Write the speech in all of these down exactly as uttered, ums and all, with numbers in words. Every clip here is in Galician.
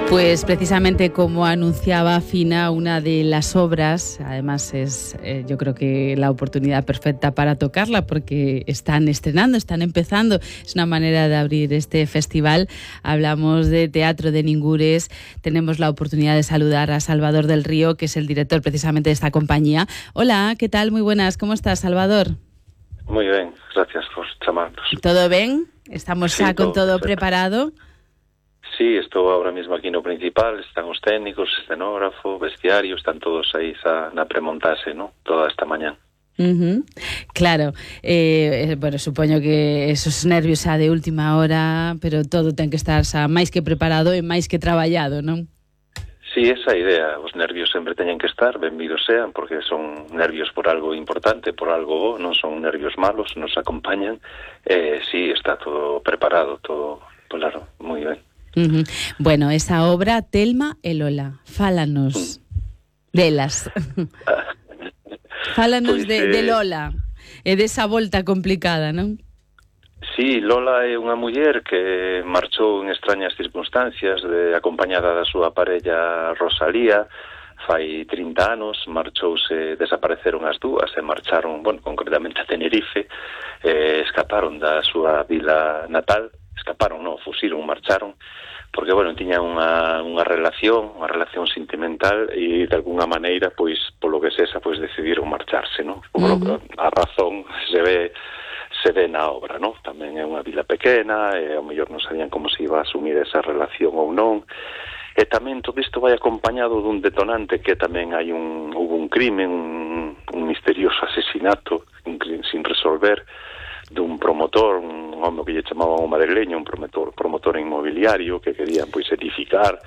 Pues precisamente como anunciaba Fina, una de las obras, además es eh, yo creo que la oportunidad perfecta para tocarla porque están estrenando, están empezando, es una manera de abrir este festival. Hablamos de Teatro de Ningures, tenemos la oportunidad de saludar a Salvador del Río, que es el director precisamente de esta compañía. Hola, ¿qué tal? Muy buenas, ¿cómo estás, Salvador? Muy bien, gracias por llamarnos. ¿Todo bien? ¿Estamos sí, xa con todo, todo preparado? Sí, estou ahora mismo aquí no principal, están os técnicos, escenógrafo, vestiario, están todos aí xa na premontase, ¿no? Toda esta mañá. Uh-huh. Claro, eh, bueno, supoño que esos nervios xa de última hora, pero todo ten que estar xa máis que preparado e máis que traballado, non? Sí, esa idea, os nervios sempre teñen que estar, benvidos sean, porque son nervios por algo importante, por algo bo, non son nervios malos, nos acompañan, eh, sí, está todo preparado, todo, claro, moi ben. Uh-huh. Bueno, esa obra, Telma e Lola, fálanos mm. delas. Fálanos pues, de, eh... de Lola e desa volta complicada, non? Sí, Lola é unha muller que marchou en extrañas circunstancias, de, acompañada da súa parella Rosalía, fai trinta anos, marchouse, desapareceron as dúas e marcharon, bueno, concretamente a Tenerife, eh, escaparon da súa vila natal, escaparon, non, fusiron, marcharon, porque, bueno, tiñan unha, unha relación, unha relación sentimental e, de alguna maneira, pois, polo que sexa, pois, decidiron marcharse, non? Uh-huh. A razón se ve se ve na obra, non? Tamén é unha vila pequena e, ao mellor, non sabían como se iba a asumir esa relación ou non. E tamén todo isto vai acompañado dun detonante que tamén hai un, hubo un crime, un, un misterioso asesinato un crime sin resolver dun promotor, un home que lle chamaban o madrileño, un promotor, promotor inmobiliario que querían pois edificar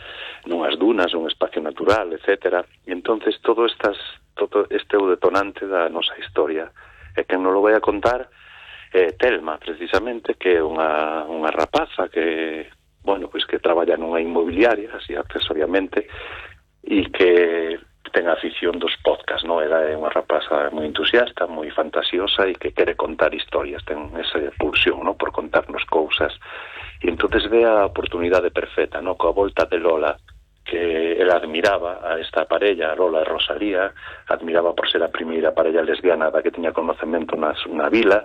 nunhas dunas, un espacio natural, etcétera. E entonces todo estas todo este é o detonante da nosa historia. E quen non lo vai a contar é Telma, precisamente, que é unha, unha rapaza que, bueno, pois que traballa nunha inmobiliaria, así accesoriamente, e que ten a afición dos podcast, non? Ela é unha rapaza moi entusiasta, moi fantasiosa e que quere contar historias, ten esa pulsión, non? Por contarnos cousas. E entonces ve a oportunidade perfecta, non? Coa volta de Lola, que ela admiraba a esta parella, Lola e Rosalía, admiraba por ser a primeira parella lesbiana da que tiña conocemento na, na vila,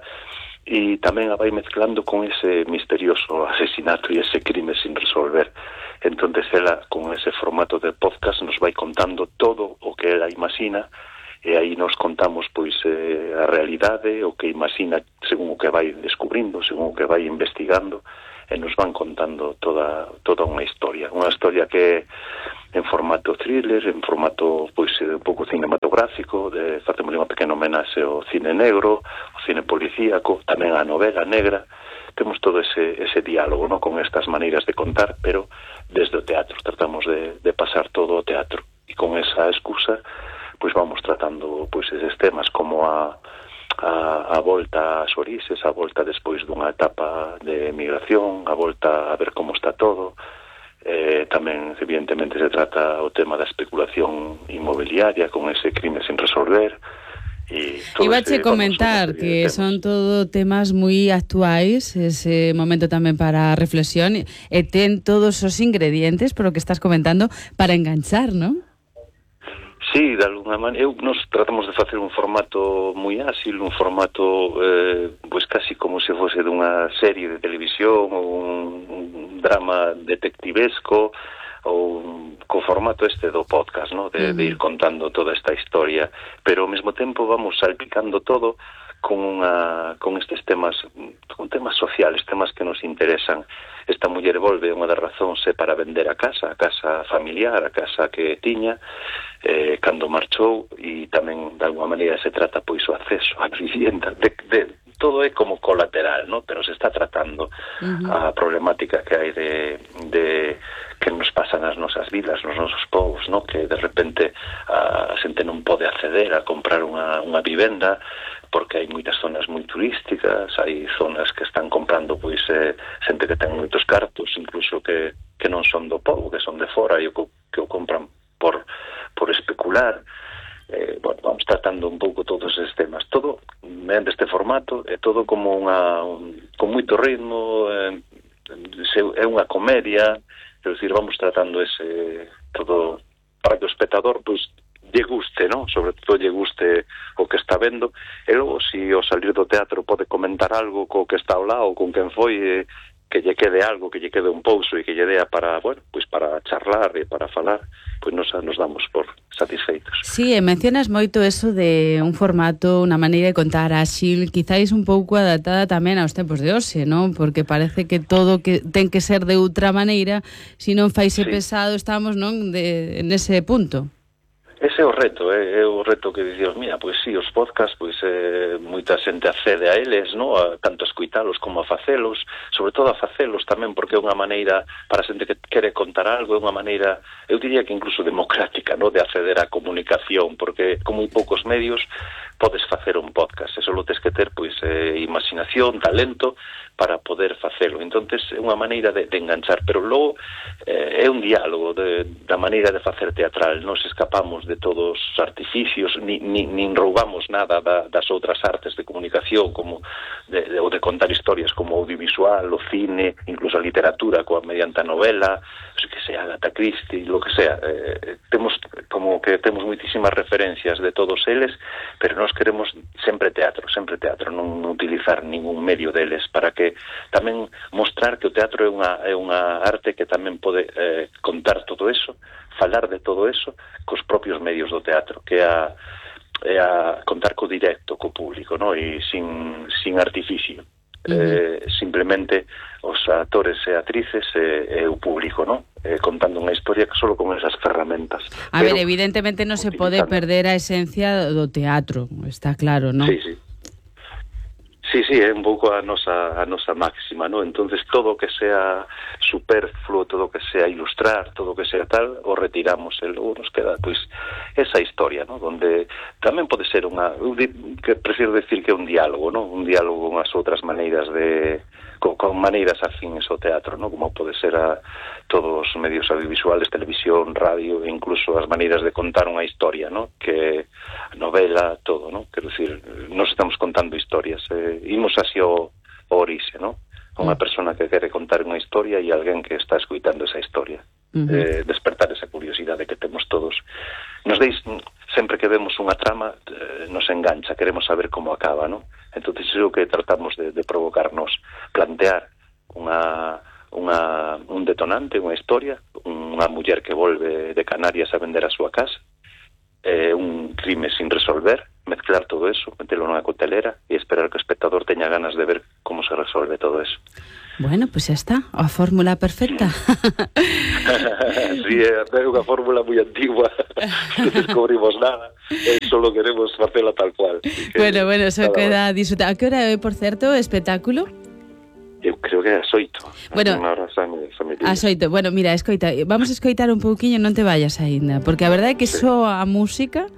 e tamén a vai mezclando con ese misterioso asesinato e ese crime sin resolver. Entonces ela, con ese formato de podcast, nos vai contando todo o que ela imagina, e aí nos contamos pois eh, a realidade, o que imagina según o que vai descubrindo, según o que vai investigando, e nos van contando toda toda unha historia, unha historia que en formato thriller, en formato pois un pouco cinematográfico, de facemos unha pequena homenaxe ao cine negro, ao cine policíaco, tamén a novela negra. Temos todo ese ese diálogo, ¿no? Con estas maneiras de contar, pero desde o teatro, tratamos de, de pasar todo o teatro, e con esa excusa pois vamos tratando pois eses temas como a a, a volta ás orixes, a volta despois dunha etapa de emigración, a volta a ver como está todo. Eh, tamén, evidentemente, se trata o tema da especulación inmobiliaria con ese crime sin resolver. Iba a comentar que son todo temas moi actuais, ese momento tamén para reflexión, e ten todos os ingredientes, por o que estás comentando, para enganchar, non? Sí, de alguna maneira, nos tratamos de facer un formato moi áxil, un formato eh, pois casi como se fose dunha serie de televisión ou un, un drama detectivesco, ou co formato este do podcast, ¿no? De, uh-huh. de ir contando toda esta historia, pero ao mesmo tempo vamos salpicando todo con unha con estes temas, con temas sociales, temas que nos interesan. Esta muller volve, unha das razóns é para vender a casa, a casa familiar, a casa que tiña, eh, cando marchou, e tamén de alguma maneira se trata pois o acceso á vivienda, de, de, todo é como colateral, ¿no? Pero se está tratando uh-huh. a problemática que hai de, de que nos pasa nas nosas vidas, nos nosos povos, ¿no? Que de repente a xente non pode acceder a comprar unha, unha vivenda porque hai moitas zonas moi turísticas, hai zonas que están comprando pois eh, xente que ten moitos cartos, incluso que, que non son do povo, que son de fora e o que o compran por, por especular. Eh, bueno, vamos tratando un pouco todos estes temas, todo mediante este formato, é todo como unha un, con moito ritmo, eh, é unha comedia, quero dicir, vamos tratando ese todo para que o espectador pois lle guste, non? Sobre todo lle guste o que está vendo, e logo, se ao salir do teatro pode comentar algo co que está ao lado, con quen foi, eh, que lle quede algo, que lle quede un pouso e que lle dea para, bueno, pois para charlar e para falar, pois nos, nos damos por satisfeitos. Sí, e mencionas moito eso de un formato, unha maneira de contar áxil, quizáis un pouco adaptada tamén aos tempos de hoxe, non? Porque parece que todo que ten que ser de outra maneira, se non faise sí. pesado, estamos, non, de, en ese punto. Ese é o reto, é, é o reto que dicimos, mira, pois sí, os podcasts, pois eh, moita xente accede a eles, no? A, tanto a escuitalos como a facelos, sobre todo a facelos tamén, porque é unha maneira para a xente que quere contar algo, é unha maneira, eu diría que incluso democrática, no? De acceder á comunicación, porque con moi poucos medios podes facer un podcast, e só tes que ter, pois, eh, imaginación, talento, para poder facelo. Entonces é unha maneira de, de enganchar, pero logo eh, é un diálogo de, da maneira de facer teatral. Nos escapamos de todos os artificios, ni, ni, nin roubamos nada da, das outras artes de comunicación, como de, de, ou de contar historias, como o audiovisual, o cine, incluso a literatura, coa mediante a novela, que sea Agatha Christie, lo que sea. Eh, temos como que temos moitísimas referencias de todos eles, pero nós queremos sempre teatro, sempre teatro, non utilizar ningún medio deles, para que tamén mostrar que o teatro é unha, é unha arte que tamén pode eh, contar todo eso, falar de todo eso cos propios medios do teatro, que é a, é a contar co directo, co público, no? E sin, sin artificio. Uh-huh. Eh, simplemente os actores e actrices e, e o público, no? Eh, contando unha historia que solo con esas ferramentas. A ver, evidentemente non se pode perder a esencia do teatro, está claro, non? Sí, sí. Sí, sí, é un pouco a nosa, a nosa máxima, ¿no? Entonces todo o que sea superfluo, todo o que sea ilustrar, todo o que sea tal, o retiramos, e logo nos queda, pois, esa historia, ¿no? Donde tamén pode ser unha, eu di, que prefiro decir que é un diálogo, ¿no? Un diálogo con as outras maneiras de, con, con maneiras afines ao teatro, ¿no? Como pode ser a todos os medios audiovisuales, televisión, radio, e incluso as maneiras de contar unha historia, ¿no? Que a novela, todo, ¿no? Quero dicir, nos estamos contando historias, eh, imos así o, o orixe, ¿no? Unha persona que quere contar unha historia e alguén que está escuitando esa historia. Uh-huh. eh, despertar esa curiosidade que temos todos. Nos deis, sempre que vemos unha trama, eh, nos engancha, queremos saber como acaba, ¿no? Entón, é o que tratamos de, de provocarnos, plantear unha, unha, un detonante, unha historia, unha muller que volve de Canarias a vender a súa casa, eh, un crime sin resolver, mezclar todo eso, metelo nunha cotelera e esperar que o espectador teña ganas de ver como se resolve todo eso. Bueno, pois pues xa está, a fórmula perfecta. Sí, é unha fórmula moi antigua, non descubrimos nada, e solo queremos facela tal cual. Bueno, bueno, eso queda a disfrutar. A que hora é, por certo, o espectáculo? Eu creo que é as oito. Bueno, as oito. Bueno, mira, escoita, vamos a escoitar un pouquiño, non te vayas aínda, porque a verdade é que sí. Só a música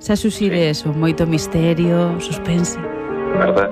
xa susire sí. Eso, moito misterio, suspense. Verdad?